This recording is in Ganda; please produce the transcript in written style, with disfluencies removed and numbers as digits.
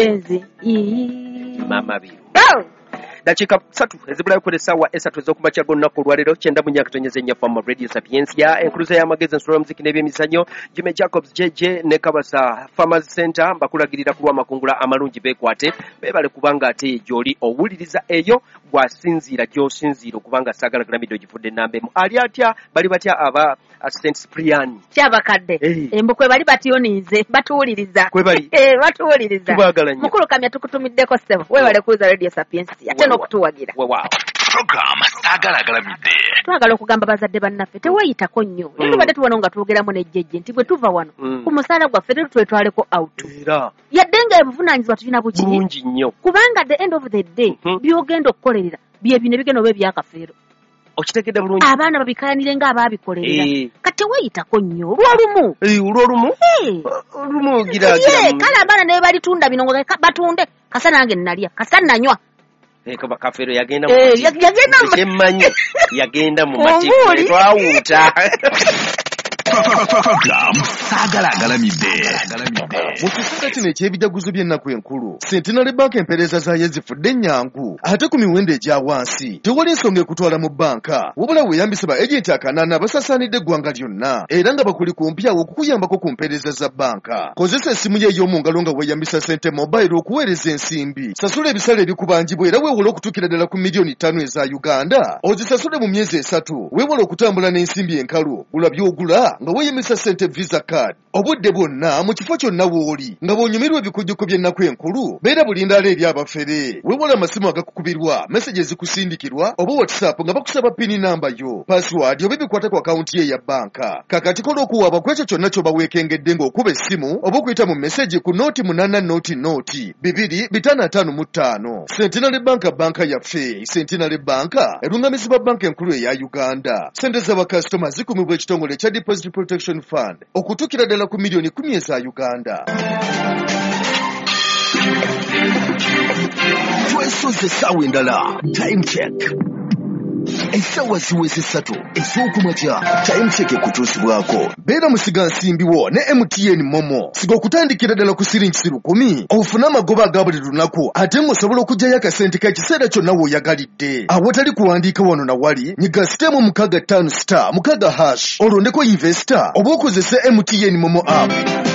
Enzi. Mama Biru. Dakika 3 ezibulayo ku essaawa 3 ez'okumakya g'olunaku olwaleero 94.4 Fama Radio Sapientia, enkuluza y'amagezi, ensolo y'omuziki n'ebyemizannyo. Jimmy Jacobs JJ ne Kabasa Farmers Center mbakulagirira ku lw'amakungula amalungi, beekwate beebale, kubanga ate gy'oli owuliriza eyo gwasinziira gy'osinziira okubanga saagala galamidde ogifudde ennamba emu. Ali atya, bali batya aba St Cyprian? Kyabakadde. Embu kwe bali batyoniize, batuwuliriza. Kwe bali. Batuwuliriza. Tubaagala nnyo. Mukulu Kamya, tukutumiddeko ssebo, weebale kuuza Radio Sapientia ate n'okutuwagira. Weewaawo. Program Saagala Agalamidde. Twagala okugamba bazadde bannaffe, teweeyitako nnyo. Naye tubadde tubona nga twogeramu nejjejje nti bwe tuva wano ku musaala gwaffe leero twetwaleko out, era yadde nga obuvunaanyizibwa tulina bukiri bulungi nnyo, kubanga at the end of the day by'ogenda okukolerera bye bino ebigenda oba ebyakafeero. Okitegedde bulungi. Abaana babikayanire ng'abaabikolerera. Kati teweeyitako nnyo olw'olumu. Olwolumu olumu gira. Ye, kale abaana ne balitunda bino nga batunde, kasa nange nalya, kasa nanywa. Kafeero yagenda mu Yagenda kyemmanyi yagenda mu Ku mbuuli. matikkule twawuuta. Program Saagala Agalamidde. Mu kiseera kino eky'ebijaguzo by'ennaku enkulu, Centenary Bank empeereza zaayo zifudde ennyangu ate ku miwendo egya wansi. Tewali nsonga ekutwala mu bbanka, wabula weeyambise ba agenti 8 abasaasaanidde eggwanga lyonna era nga bakuli kumpi awo okukuyambako ku mpeereza za bbanka. Kozesa essimu yo ey'omu ngalo nga weeyambisa Sente Mobile okuweereza ensimbi, sasula ebisale ebikubanjibwa era weewole okutuukira ddala ku miliyoni 5 eza Uganda, ozisasule mu myezi 3. Weewale okutambula n'ensimbi enkalu, gula by'ogula nga weeyambisa Sente Visa Card obudde bwonna mu kifo kyonna w'oli. Nga bw'onyumirwa ebikujjuko by'ennaku enkulu, beera bulindaala eri abafere. Weewale amasimu agakukubirwa, message ezikusindikirwa oba WhatsApp nga bakusaba PIN namba yo, password oba ebikwata ku akawunti ye eya bbanka. Kakati kola okuwaaba ku ekyo kyonna ky'oba weekengedde ng'okuba essimu oba okuyita mu message ku 0800 2 255. Centenary Bank, banka yaffe. Centenary Bank erungamizibwa Banka Enkulu eya Uganda. Sente z'abakasitoma zikumibwa ekitongole ekya Deposit Protection Fund okutuukira ddala ku miliyoni 10 eza Uganda. Twesoze essaawa endala. Time check. Essaawa ziweze 3 ez'okumakya. Time check ekutuusibwako Beera musiga nsimbi wo ne MTN MoMo. Siga okutandikira ddala ku siringi 1,000 ofune amagoba aga buli lunaku, ate ng'osobola okuggyayo akasente k'ekiseera kyonna w'oyagalidde awatali kuwandiika wano na wali. Nyiga *656*6# olondeko investor oba okozese MTN MoMo app.